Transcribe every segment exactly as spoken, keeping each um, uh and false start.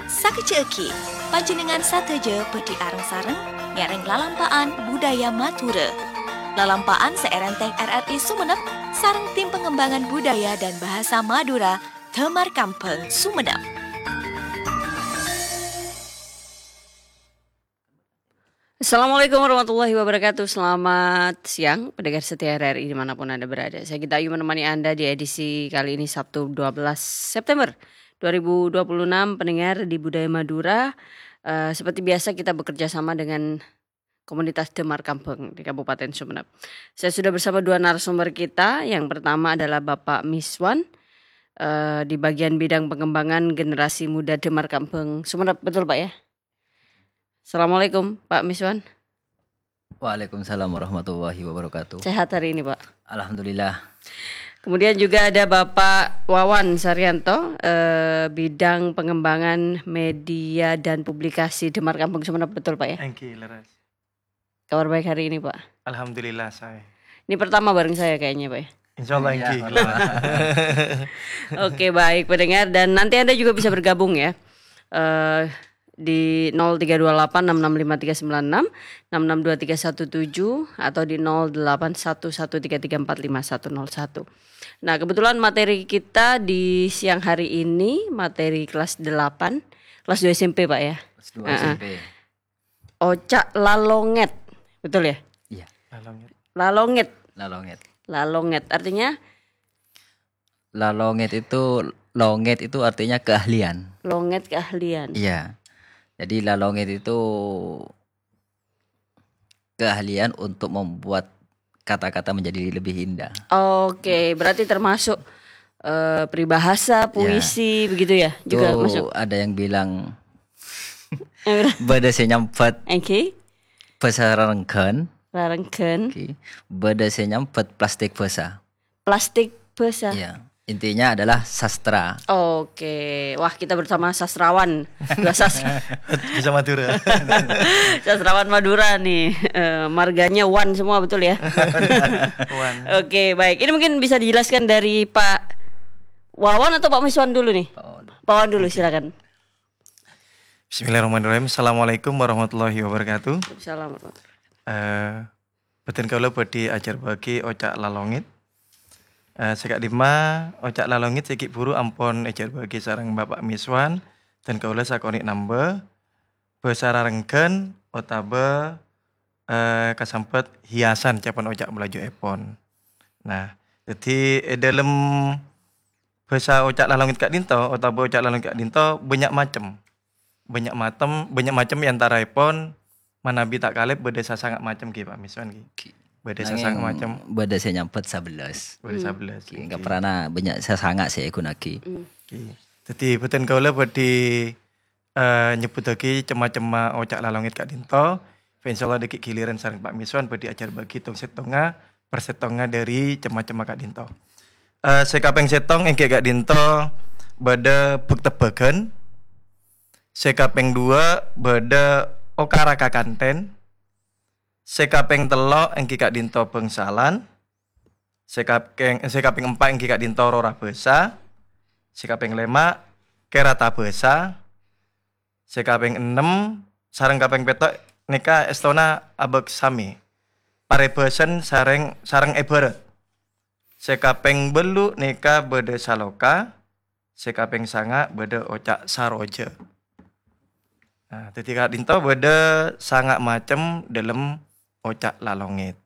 Sakejjhâ'âghi, panjhennengngan sadhâjâ bhâdhi areng-sareng ngèrèng lalampa'an budaya Madhurâ. Lalampa'an sè èrèntèng R R I Sumenep sareng Tim Pengembangan Budaya dan Bahasa Madura, Damar Kambhâng, Sumenep. Assalamualaikum warahmatullahi wabarakatuh. Selamat siang, pendengar setia R R I dimanapun Anda berada. Saya Gita Ayu menemani Anda di edisi kali ini, Sabtu, dua belas September dua ribu dua puluh enam, pendengar di Budaya Madura. Eh, seperti biasa, kita bekerja sama dengan komunitas Damar Kambhâng di Kabupaten Sumenep. Saya sudah bersama dua narasumber kita. Yang pertama adalah Bapak Miswan, eh, di bagian bidang pengembangan generasi muda Damar Kambhâng Sumenep. Betul, Pak, ya? Assalamualaikum, Pak Miswan. Waalaikumsalam warahmatullahi wabarakatuh. Sehat hari ini, Pak? Alhamdulillah. Kemudian juga ada Bapak Wawan Saryanto, eh, bidang pengembangan media dan publikasi Damar Kambhâng Sumenep, betul, Pak, ya? Èngghi, leres. Kabar baik hari ini, Pak? Alhamdulillah, saè. Ini pertama bareng saya kayaknya, Pak, ya? Insyaallah, iya, èngghi. Oke, baik, pendengar. Dan nanti Anda juga bisa bergabung, ya. Eh, di nol tiga dua delapan enam enam lima tiga sembilan enam, enam enam dua tiga satu tujuh, atau di nol delapan satu satu tiga tiga empat lima satu nol satu. Nah, kebetulan materi kita di siang hari ini, materi kelas delapan, kelas dua S M P, Pak, ya? Kelas dua Heeh. S M P. Oca' lalongèt. Betul, ya? Iya. Lalongèt. Lalongèt. Lalongèt. Lalongèt. Artinya? Lalongèt itu, longèt itu artinya keahlian. Longèt keahlian. Iya. Jadi lalongèt itu keahlian untuk membuat kata-kata menjadi lebih indah. Oke, berarti termasuk, eh, peribahasa, Ya. puisi, begitu ya? Juga Tuh masuk. Ada yang bilang, Yang bilang bâdâ sè nyambhât Oke. bhâsa rarengghân. Rarengghân. Oke. Bâdâ sè nyambhât plastik bhâsa. Plastik bhâsa. Iya. Intinya adalah sastra. Oke. Wah, kita bersama sastrawan. Dua sastra. Bisa Madura. Sastrawan Madura nih. Eh, marganya Wan semua, betul ya? Wan. Oke, baik. Ini mungkin bisa dijelaskan dari Pak Wawan atau Pak Miswan dulu nih? Pak Wawan. Pak Wawan dulu, silakan. Bismillahirrahmanirrahim. Assalamualaikum warahmatullahi wabarakatuh. Waalaikumsalam warahmatullahi wabarakatuh. Eh, bhâdhân kaulâ bhâdhi ajhârbâ'âghi oca' lalongèt. Eh, sè ka'dimma oca' lalongèt sè ghi' bhuru ampon èjhârbâ'âghi sareng Bapak Miswan, dhân kaulâ sakonè' nambâ, bhâsa rarengghân otabâ, eh, kasambhât hiasan, ca'èpon oca' Malajuèpon. Nah, dhâddhi è dhâlem bhâsa oca' lalongèt ka'dinto otabâ oca' lalongèt ka'dinto bânnya' macem. Bânnya' matem-, bânnya' macem è antaraèpon manabi ta' kalèp bâdâ sasanga' macem ghi, Pak Miswan ghi. Ghi. Bâdâ Nangèng sasanga' macem. Bâdâ sè nyambhât sabellas. Bâdâ Hmm. sabellas. Ghi, Ghi. Kaprana bânnya' sasanga' sè èghunaaghi. Hmm. Ghi. Dhâddhi, bhâdhân kaulâ bhâdhi, eh, nyebbhuttaghi cem-macemma oca' lalongèt ka'dinto. Fa insyaallah dhâggi' giliran sareng Pak Miswan bhâdhi ajhârbâ'âghi tong-sèttongnga, parsèttongnga dhâri cem-macemma ka'dinto. Eh, sè kapèng sèttong èngghi ka'dinto bâdâ bhâk-tebbhâghân. Sè kapèng duwâ' bâdâ okara kakantèn. Sè kapèng tello' èngghi ka'dinto bhângsalan. Sè kapèng, sè kapèng empa' èngghi ka'dinto rora bhâsa. Sè kapèng lèma' kèrata bhâsa. Sè kapèng ennem sareng kapèng pètto' nèka èstona abâk samè. Parèbhâsan sareng, sareng èbhârât. Sè kapèng bâllu' nèka bâdâ saloka, sè kapèng sanga' bâdâ oca' saroja. Nah, dhâddhi ka'dinto bâdâ sanga' macem dhâlem oca' lalongèt.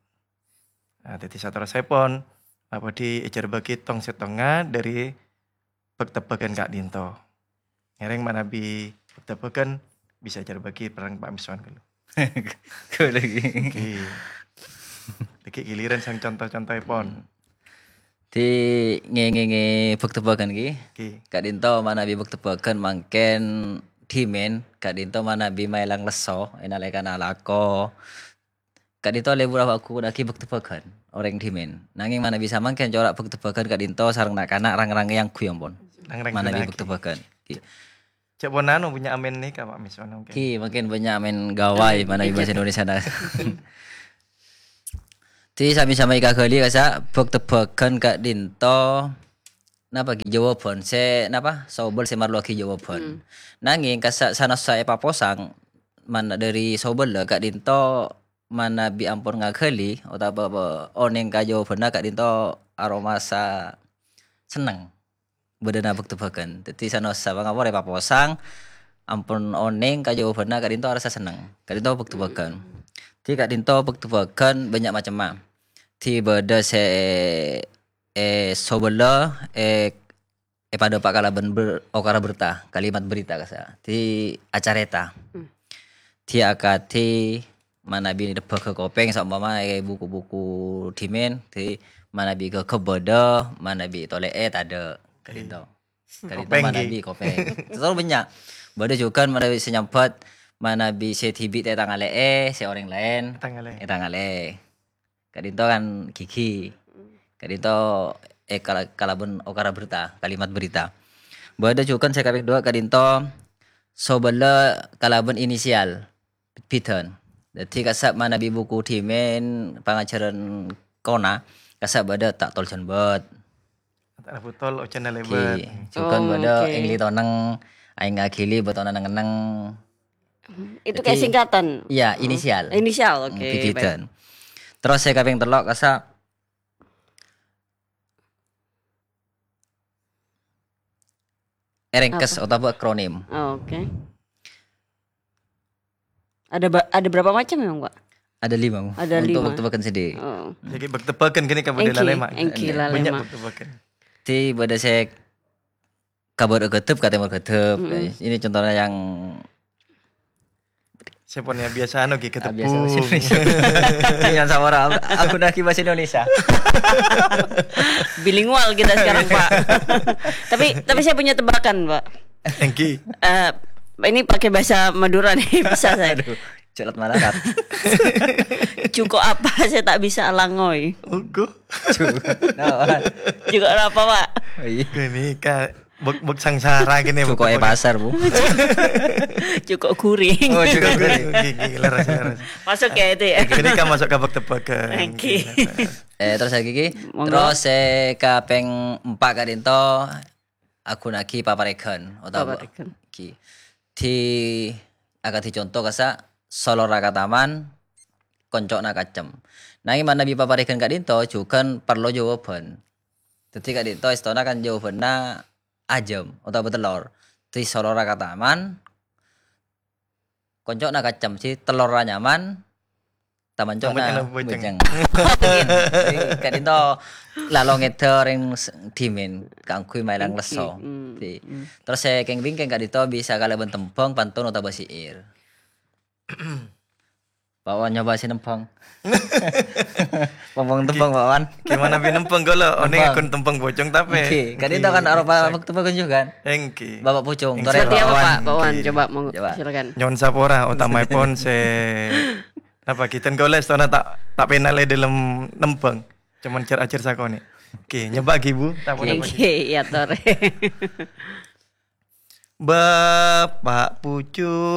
Nah, dhâddhi saterrossèpon, abhâdhi èjhârbâ'âghi tong-sèttongnga dhâri bhâk-tebbhâghân ka'dinto. Ngèrèng manabi bhâk-tebbhâghân bisa èjhârbâ'âghi sareng Pak Miswan ghâllu. Ghâllu ghi. Ghi. Dhâggi' giliran sareng conto-contoèpon. Dhi ngèngèngè bhâk-tebbhâghân ghi. Ghi. Ka'dinto manabi bhâk-tebbhâghân mangkèn dhimèn, ka'dinto manabi maèlang lesso, è nalèkana alako. Ka'dinto lebur apa aku lagi bhâk-tebbhâghân orèng dhimèn. Nangèng manabi samangkèn cora' bhâk-tebbhâghân ka'dinto sareng na'-kana' rang-rang èyangghuy ampon. Rang-rang manabi ghuna'aghi. Bhâk-tebbhâghân. Ghi. Cè' ponapa bânnya' amèn nèka, Pak Miswan, mungkin. Ghi, mungkin bânnya' amèn gawai, amèn manabi bhâsa Indonesia, nah. Dhi sami-sami èkaghâli kassa' bhâk-tebbhâghân ka'dinto. napa ghi' jawaban, sè napa, sobel sè marlowaghi jawaban. Hmm. Nangèng kassa' sanaossa èpaposang, man-, dhâri sobella ka'dinto manabi ampon ngaghâli otabâ onèng ka jawabanna ka'dinto aromasa senneng. Bâdâna bâk-tebâkân. Dhâddhi sanaossa pangapora èpaposang, ampon onèng ka jawabanna ka'dinto arassa senneng. Ka'dinto bâk-tebâkân. Dhâddhi ka'dinto bâk-tebâkân bânnya' macemma. Dhâddhi bâdâ sè, eh, sobella, eh, èpadâpa' kalabân ber-, okara berta, kalimat berita kassa'. Dhâddhi acarèta. Hmm. Dhâddhi akadhi manabi nebbhâghâ kopèng, saompama è buku-buku dhimèn, dhâddhi manabi ghâghâp bâdâ, manabi tolè'è tadâ'. Ka'dinto. Ka'dinto kopèng, manabi kopèng. Terros bânnya'. Bâdâ jhughân manabi sè nyambhât, manabi sè dhibi' ta' ètangalè'è, sè orèng laèn ètangalè'è. Ka'dinto kan ghighi. Ka'dinto, eh, kala-, kalabân okara berta, kalimat berita. Bâdâ jhughân sè kapèng duwâ' ka'dinto sobella kalabân inisial. Bit-bitan. Dhâddhi kassa' manabi buku dhimèn pangajhârân kona, kassa' bâdâ ta' tol jhân bât. Ta' rabu tol, ojhânna lèbât. Jhughân bâdâ èngghi tonèng, aèng aghili bâtona neng-enneng. Itu kayak singkatan? Iya, inisial. Inisial, oke, bit-bitan. Terros sè kapèng tello' kassa' èrèngkes otabâ akronim. Oh, oke. Ada ba-, ada berapa macam memang, Pak? Ada lima, Bu. Ada lima. Untuk bâk-tebâkân sendiri. Oh. Jadi bâk-tebâkân gini ka bâdâ lalèma. Èngghi, lalèma. Bânnya' bâk-tebâkân. Dhâddhi bâdâ sè ka bârâ' ghâdhâp, ka tèmor ghâdhâp. Mm-mm. Ini contohnya yang Sè pon ya biasa anu ghi, ah, biasa bahasa Indonesia. Yang sama orang, aku lagi bahasa Indonesia. Bilingual kita sekarang, Pak. Tapi, tapi saya punya tebakan, Pak. Èngghi. Eh, ini pakai bahasa Madura nih, bisa saya. Aduh, celat malarat. Jhuko' apa saya tak bisa alangoi? Ogo. Jhuko'. Nah, jhuko' apa, Pak? Oh, iya. Ini, Kak. Bâk-, bâk sangsara gini, jhuko' bâk-, è pasar, Bu. Jhuko' guring. Oh, jhuko' guring. Ghi, ghi, leres, leres. Masuk ya itu ya? Ini kan masuk ka bâk-tebâkân. Oke. Ghi, leres. Eh, terros lagi, ghi. Monggo. Terros, eh, kapèng empa' ka'dinto, aghunaaghi paparèghân otabâ, paparèghân, ghi. Dhâddhi, akadhi conto kassa', solora ka taman, konco'na kacem. Nangèng manabi paparèghân ka'dinto, jhughân parlo jawaban. Dhâddhi ka'dinto èstona kan jawabanna ajâm otabâ tellor. Dhâddhi solora ka taman, konco'na kacem, sè tellorra nyaman, taman co'na bhâjâng. Bhâjâng. Dhâddhi ka'dinto lalo ngèdhâ orèng s-, dhimèn kaangghuy maèlang lesso. Hmm. Dhâddhi, hmm, terros sè kèng-bingkèng ka'dinto bisa kalabân tembhâng, pantun otabâ syair. Pak Wan nyoba sè nembhâng. Tembhâng-tembhâng, Pak Wan. Gimana bi nembhâng kalau? One nembhâng. Akon tembhâng pocong tapè. Oke, kan itu kan aropa tembhâng juga kan? Èngghi. Bapak Pucung, èngghi. Seperti apa, Pak Wan? Pak Wan, coba, monggo, coba, silakan. Nyo'on sapora, utamaèpon sè, napa, ghi ten golè sètona ta', ta' pènal è dâlem nembhâng. Cuman cer-acer sakonè'. Oke, nyoba ghi, Bu. Ta' ponapa, ghi? Èngghi, ya, Tor. Bapak Pucung.